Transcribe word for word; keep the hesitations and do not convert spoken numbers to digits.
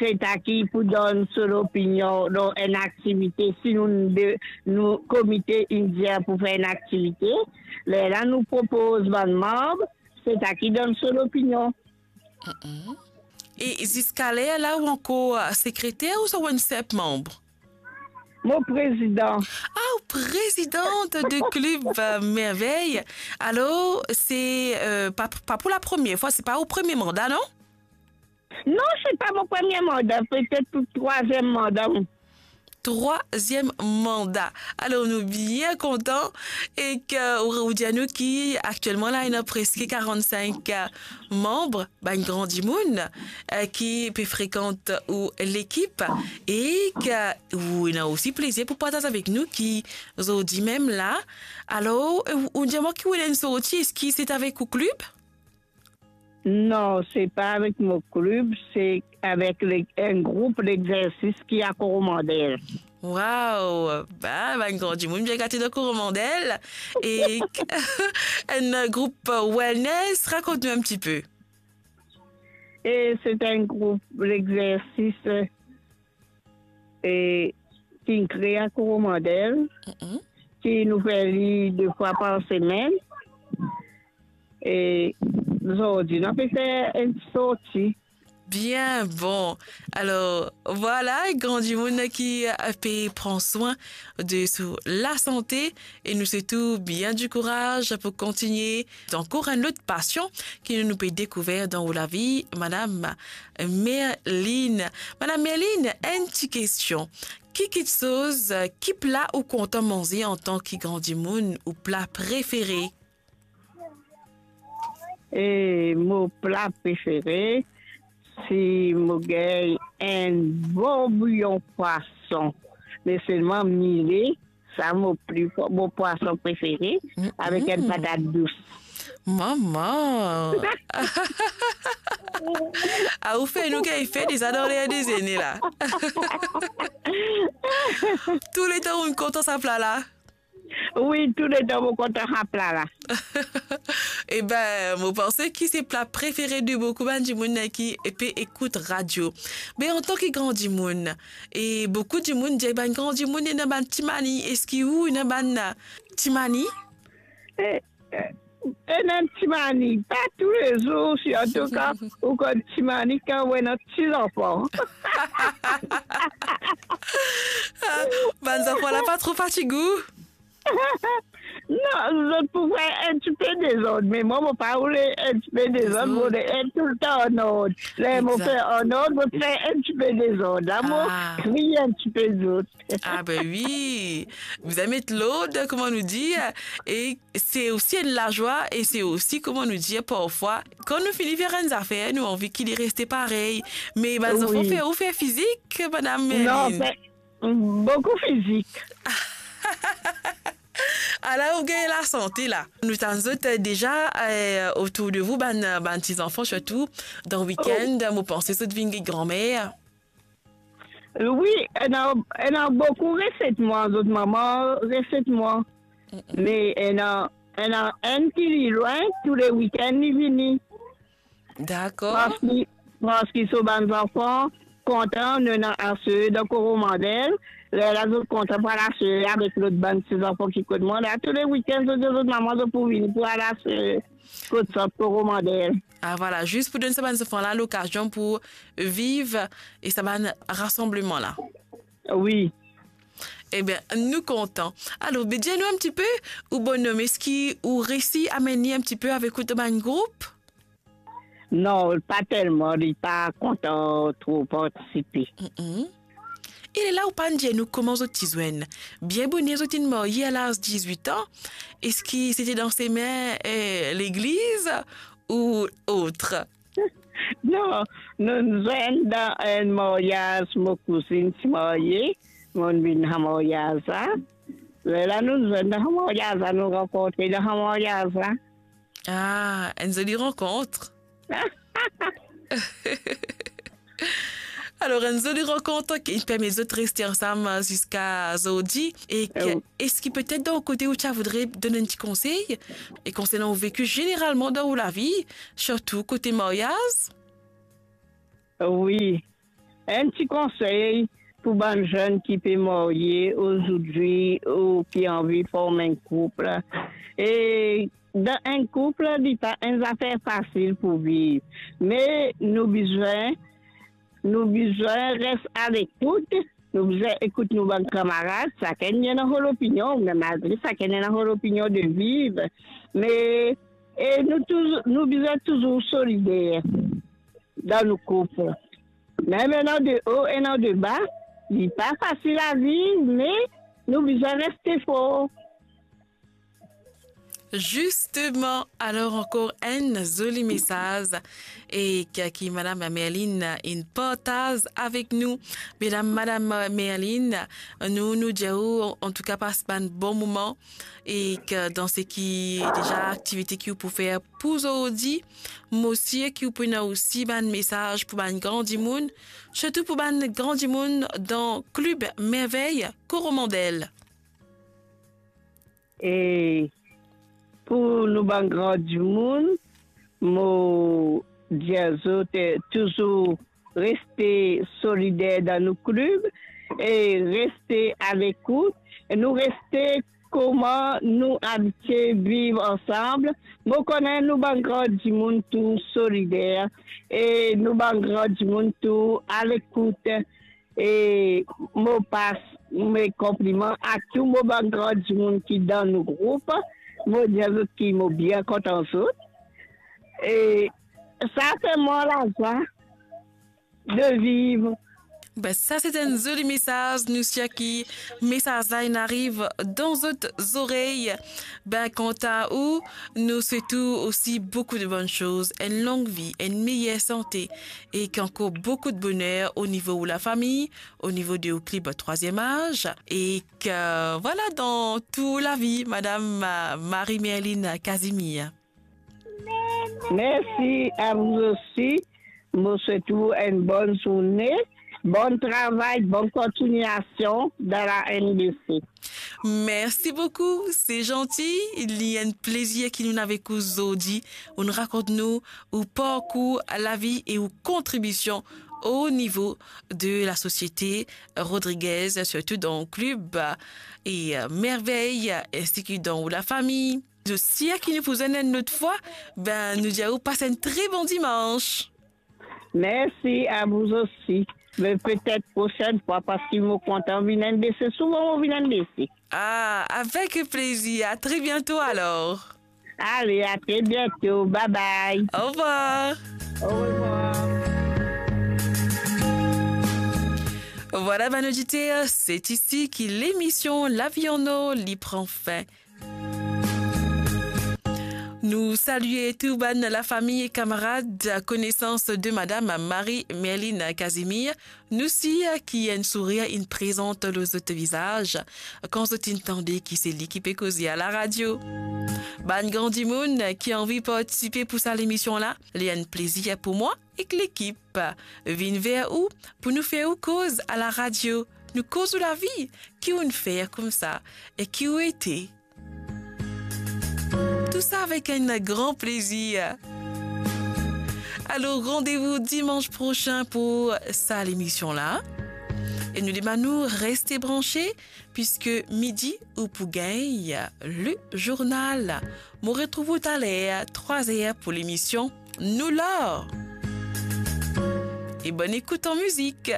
se ta ki pou donn so lopinion lor enn aktivite. Si nou de, nou komite inn dir pou fer enn aktivite, lerla nou propoz bann manb, se ta ki donn so lopinion. E ziska ler la ou ankor sekreter ouswa ou enn sinp manb? Mo prezidan. Ah, ou prezidant de klib Mervey. Alor, se pa, pa pou la premie fwa, se pa ou premie manda, non? Non, se pa mo premie manda, petet pou trwaziem manda. Trwaziem manda. Alor, nou bien kontan e ke ou, ou dir nou ki aktielman la, ena preske karant-sink manb, bann gran dimoun ki pe frekant ou lekip e ke ou ena osi plezir pou partaz avek nou ki zordi mem la. Alor, ou, ou dir mwa ki ou ena enn sorti, eski se avek ou klib? Non, se pa avek mo klib, se avek le, enn group lexersis ki a Koromandel. Wow! Ba, bann gran dimoun bien gate dan Koromandel. E enn group wellness, rakont nou enn tipe. E se enn group lexersis e, ki kre a Koromandel, ki nou fer li de fwa par semenn. E zordi, nou pe fer enn sorti. Bien bon. Alor, vwala, gran dimoun ki pe pran swin de so lasante e nou swet ou bien dikouraz pou kontigne dan ankor enn lot pasion ki nou, nou pe dekouver dan ou lavi, Madam Merline. Madam Merline, enn ti kestion. Ki kiksoz, ki pla ou kontan manze antan ki gran dimoun, ou pla prefere? E mo pla prefere, si mo gagn enn bon bouyon pwason, me selman mile, sa mo pli, mo pwason prefere, avek enn patat dous. Mama! Ah, ou fer nou gagn fre deza dan ler dezene la. Touletan ou kontan sa pla la? Wi, touletan mo kontan sa pla la. Eben, mo panse ki se pla prefere de boukou bann dimoun ki pe ekout radio. Me antan ki gran dimoun, e boukou dimoun dir bann gran dimoun ena bann ti mani, eski ou ena bann ti mani? E, e, ena ti mani, pa toulezour, sirtou kan ou konn ti mani kan ou ena ti zanfan. Bann zanfan la pa tro fatig ou? Non, zot pou fer enn tipe dezord, me mwa, mo pa oule enn tipe dezord, mo oule enn toultan an ord. Ler mo fer an ord, mo fer enn tipe dezord. La, mo kriy enn tipe zot. Ah ben wi, bizin met lord, kouma nou dir, e se osi enn lazwa, e se osi, kouma nou dir, parfwa, kan nou fini fer enn zafer, nou anvi ki li reste parey. Me bann zanfan fer ou fer fizik, Madam Merline? Non, fer boukou fizik. Ala ou gagn lasante la. Nou tann zot deza, eh, otour de vou, bann, bann ti zanfan, sirtou dan wikenn, mo panse zot vinn gagn granmer. Wi, ena, ena boukou reset mwa, zot mama reset mwa. Me ena, ena enn ki li lwin, tou le wikenn li vini. Dakor. Parski, parski so bann zanfan kontan, nou ena ase dan Koromandel, lerla zot kontan pou al ase avek lot bann ti zanfan ki kot mwa la. Tou le wikenn, zot dir zot mama, zot pou vini pou al ase kot sant Koromandel. Ah, vwala, zis pou donn sa bann zanfan la lokazion pou viv e sa bann rasanbleman la. Wi. Eben, nou kontan. Alor, be dir nou enn tipe, ou bonom, eski ou resi amenn li enn tipe avek ou dan bann group? Non, pa telman, li pa kontan tro partisipe. E lerla ou pa'nn dir nou kouma zot ti zwenn? Bien boner zot inn marye a laz dizwit an. Eski sete dan semin, eh, legliz ou ot? Non, nou zwenn dan enn maryaz, mo kouzinn ti marye, mo'nn vinn dan maryaz la. Lerla nou zwenn dan maryaz la, nou rankontre dan maryaz la. Ah, enn zoli rankont. Alor, enn zoli rankont ki permet zot reste ansam ziska zordi. E eski petet dan ou kote ou ti a voudre donn enn ti konsey, e konsernan ou veki zeneralman dan ou lavi, sirtou kote maryaz? Wi, enn ti konsey pou bann zenn ki pe marye ozordi ou ki anvi form enn koup. E dan enn koup, li pa enn zafer fasil pou viv. Me nou bizin, nou bizin res alekout, nou bizin ekout nou bann kamarad, sakenn ena so lopinion, me malgre sakenn ena so lopinion de viv, me, e nou touzour, nou bizin touzour solider dan nou koup. Mem ena de o, ena de ba, li pa fasil a viv, me nou bizin reste for. Zisteman, alor ankor enn zoli mesaz e ki, ki Madam Merline inn partaz avek nou. Medam, Madam Merline, nou, nou dir ou, antouka, pas bann bon moman e ki dan seki deza aktivite ki ou pou fer pou zordi, mo sir ki ou pou ena osi bann mesaz pou bann gran dimoun, sirtou pou bann gran dimoun dan Klib Mervey Koromandel. E pou nou bann gran dimoun, mo dir zot, eh, touzour reste solider dan nou klib e reste alekout. Nou reste kouma nou abitie viv ansam. Mo kone nou bann gran dimoun tou solider e nou bann gran dimoun tou alekout. E mo pas me konpliman a tou mo bann gran dimoun ki dan nou group. Mo dir zot ki mo bien kontan zot. E sa fer mwa lazwa de viv. Ben, sa se enn zoli mesaz. Nou sir ki mesaz la inn ariv dan zot zorey. Ben, kanta ou, nou swet ou osi boukou de bonn soz, enn long vi, enn meyer sante, e ki ankor boukou de boner o nivo ou lafami, o nivo de ou klib trwaziem az, e ki, vwala, dan tou lavi, Madam, euh, Marie-Merline Casimir. Mersi a ou osi. Mo swet ou enn bonn zourne, bon travay, bonn kontignasion dan la M B C. Mersi boukou, se zanti. Li enn plezir ki nou avek ou zordi. Ou'nn rakont nou ou parkour lavi e ou kontribision o nivo de lasosiete Rodriguez, sirtou dan klib e, euh, Mervey, ensi ki dan ou lafami. Zot sir ki nou pou zwenn enn lot fwa, ben, nou dir ou pas enn tre bon dimans. Mersi a ou osi. Me petet prosenn fwa, parski mo kontan vinn M B C, souvan mo vinn M B C. Ah, avek plezir. A tre biento alor. Ale, a tre biento. Bye bye. Au revoir. Au revoir. Vwala, bann oditer, se isi ki lemision Lavi an Or li pran fin. Nou salie tou bann lafami e kamarad konesans de Madam Marie-Merline Casimir. Nou sir ki enn sourir inn prezant lor zot vizaz kan zot inn tande ki se li ki pe koze a laradio. Bann gran dimoun ki anvi partisipe pou sa lemision la, li enn plezir pou mwa ek lekip vinn ver ou pou nou fer ou koz a laradio. Nou koz ou lavi, ki ou'nn fer koumsa e ki ou ete. Tou sa avek enn gran plezir. Alor, randevou dimans prosin pou sa lemision la. E nou demann ou reste branche, piski midi ou pou gagn le journal. Mo retrouv ou taler trwa zer pou lemision Nou Lor. E bonn ekout an mizik.